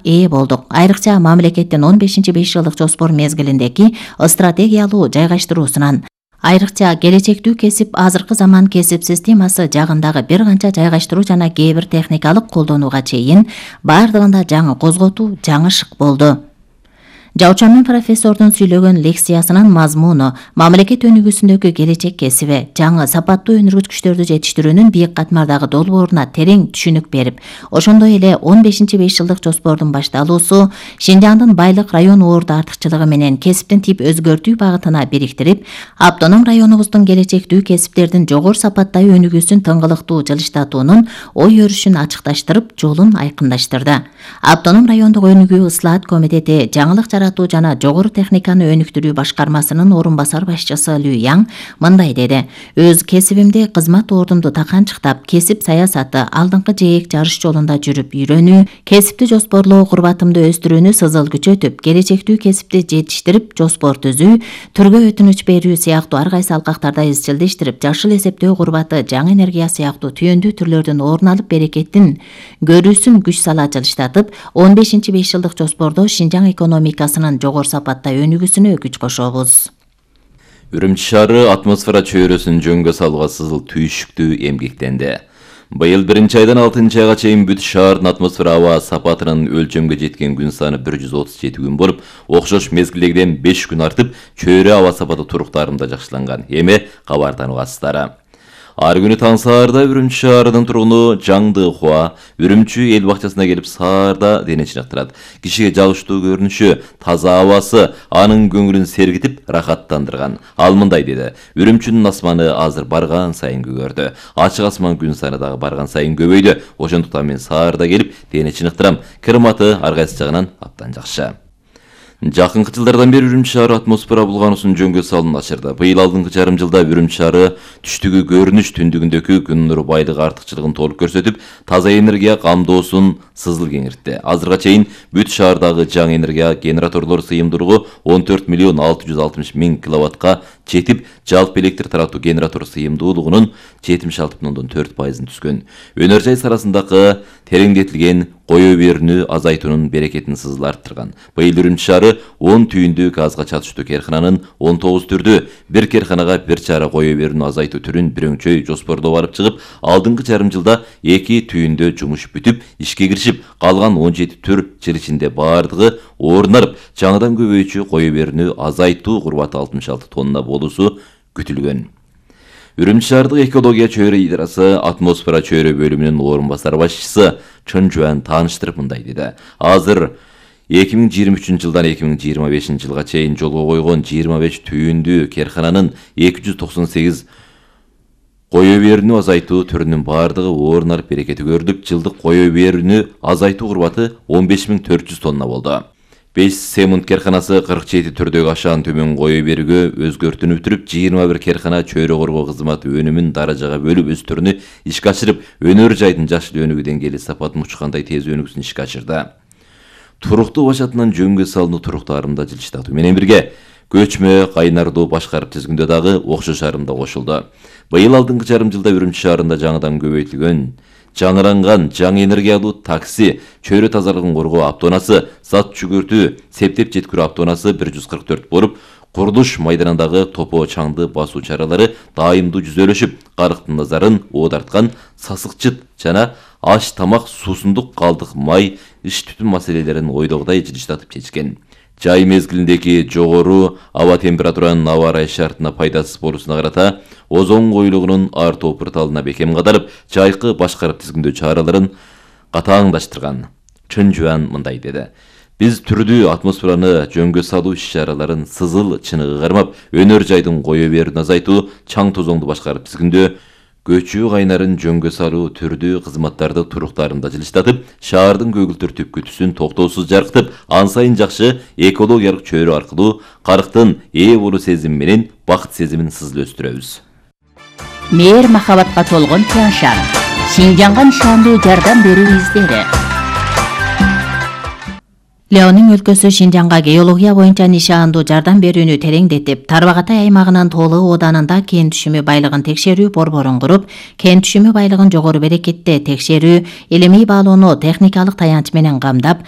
ээ болдук. Айрыкча мамлекеттин 15-5 жылдык жоспор мезгилиндеги стратегиялуу жайгаштыруусунан айрыкча келечектүү кесип азыркы заман кесип системасы жагындагы бир канча жайгаштыруу жана кээ бир техникалык колдонууга чейин бардыгында жаңы козготуу, жаңы шык болду. Жаучамын профессордун сүйлөгөн лекциясынын мазмуну мамлекет өнүгүүсүндөгү келечек кесиби, жаңы сапаттуу өнүргүчтөрдү жетиштирүүнүн бийик катмардагы долбооруна терең түшүнүк берип, ошондой эле 15-5 жылдык жоспордун башталуусу Шинжаңдын байлык район оорду артыкчылыгы менен кесиптин тип өзгөртүү багытына бириктирип, автоном районубуздун келечектүү кесиптердин жогору сапаттагы өнүгүүсүн тыңгылыктуу жылыштатуунун ой өрүшүн ачыкташтырып, жолун айкындаштырды. Автоном райондук өнүгүү ыслаат комитети жаңылык жана жогору техниканы өнүктүрүү башкармасынын орун басар башчысы Лю Яң мындай деди: өз кесибимди кызмат ордумду таканчыктап, кесип саясаты, алдыңкы жээк жарыш жолунда жүрүп үйрөнүү, кесипти жоспорлоо курбатымды өстүрүүнү сызыл күчөтүп, келечектүү кесипти жетиштирип, жоспор түзүү, түргө өтүнүч берүү сыяктуу ар кайсы алкактарда изчилдештирип, жашыл эсептөө курбаты, жаңы энергия сыяктуу түйүндүү түрлөрдүн орун алып берекеттин көрүүсүн күч сала жылыштатып, 15-5 жылдык жоспордо Шинжаң экономикасы жогору сапатта өнүгүүсүнө күч кошобуз. Үрүмчү шаары атмосфера чөйрөсүн жөнгө салууга сызыл түйшүктүү эмгектенди. Быйыл 1-айдан 6-айга чейин бүт шаардын атмосфера аба сапатынын өлчөмгө жеткен күн саны 137 күн болуп, окшош мезгилдегиден 5 күн артып, чөйрө аба сапаты туруктарында жакшыланган. Эми кабар таныбасыздар. Ар күнү таң саарда Үрүмчү шаарынын тургуну Жаңды Хуа Үрүмчү эл бакчасына келип саарда дене чыныктырат. Кишиге жагыштуу көрүнүшү, таза абасы анын көңүлүн сергитип, рахаттандырган. Ал мындай деди: Үрүмчүнүн асманы азыр барган сайын көгөрдү. Ачык асман күн саны дагы барган сайын көбөйдү. Ошондуктан мен саарда келип дене чыныктырам. Климаты ар кайсы жагынан абдан жакшы. Жакынкы жылдардан бери Үрүмчү шаары атмосфера булгануусун жөнгө салууну ачырды. Быйыл алдыңкы жарым жылда Үрүмчү шаары түштүгү көрүнүш, түндүгүндөгү күн нуру байлыгы артыкчылыгын толук көрсөтүп, таза энергия камдоосун сызыл кеңиртти. Азырга чейин бүт шаардагы жаңы энергия генераторлор сыйымдуулугу 14 миллион 660 миң киловаттка жетип, жалпы электр таратуу генератор сыйымдуулугунун 76,4% түскөн. Өнөр жай сарасындагы тереңдетилген кое берүүнү азайтуунун берекетин сызыл арттырган. Быйыл Үрүмчү шаары 10 түйүндүү газга чатыштуу керкананын 19 түрдүү, бир керканага бир чара кое берүүнү азайтуу түрүн бирөңчөй жоспордоп алып чыгып, алдыңкы жарым жылда 2 түйүндө жумуш бүтүп, ишке киришип, калган 17 түр жыл ичинде бардыгы орун алып, жаңыдан көбөйчү кое берүүнү азайтуу курбаты 66 тонна болуусу күтүлгөн. Үрүмчү шаардык экология чөйрө идарасы атмосфера чөйрө бөлүмүнүн орун басар башчысы Чын Жуан тааныштырып мындай деди: Азыр 2023 жылдан 2025 жылга чейин жолго койгон 25 түйүндүү керкананын 298 кое берүүнү азайтуу түрүнүн бардыгы орун алып берекети көрдүк. Жылдык кое берүүнү азайтуу курбаты 15400 тонна болду. 5 Семунд керканасы 47 түрдөгү ашаан төмөн кое берүүгө өзгөртүүнү бүтүрүп, 21 керкана чөйрө коргоо кызматы өнүмүн даражага бөлүп өстүрүүнү ишке ашырып, өнөр жайдын жашыл өнүгүү деңгээли сапатын учкандай тез өнүгүүсүн ишке ашырды. Туруктуу башатынан жөнгө салынуу туруктарында жылыштатуу менен бирге көчмө кайнардуу башкарып тизгиндөө дагы окшош арымда кошулду. Быйыл алдыңкы жарым жылда Үрүмчү шаарында жаңыдан көбөйтүлгөн жаңыранган жаңы энергиялуу такси, чөйрө тазалыгын коргоо автоунасы, зат жүгүртүү, септеп жеткирүү автоунасы 144 болуп, курулуш майданындагы топо чаңды басуу чаралары дайымдуу жүзөлөшүп, карыктын назарын оодарткан сасыкчыт жана аш тамак, суусундук калдык май, иш түтүн маселелерин ойдогудай жылыштатып чечкен. Жай мезгилиндеги жогору аба температуранын аба ырайы шартына пайдасыз болуусуна карата озон коюлугунун артуу порталына бекем кадарып, жайкы башкарып тизгиндөө чараларын катааңдаштырган. Чын Жуан мындай деди: Биз түрдүү атмосфераны жөнгө салуу иш-чараларын сызыл чыныгы кармап, өнөр жайдын кое берүүнү азайтуу, чаң тозоңду башкарып тизгиндөө, көчүү кайнарын жөнгө салуу түрдүү кызматтарды туруктарында жылыштатып, шаардын көгүлтөр түпкүтүсүн токтоосуз жаркытып, ан сайын жакшы экологиялык чөйрө аркылуу карыктын ээ болуу сезими менен бакыт сезимин сызыл өстүрөбүз. Мээр махабатка толгон Тяншан, Шинжаңга нышандуу жардам берүү издери. Леонин өлкөсү Шинжаңга геология боюнча нишаандуу жардам берүүнү тереңдетип, Тарбагатай аймагынын Тоолы ооданында кен түшүмү байлыгын текшерүү борборун куруп, кен түшүмү байлыгын жогору берекетте текшерүү, илимий баалоону техникалык таянч менен камдап,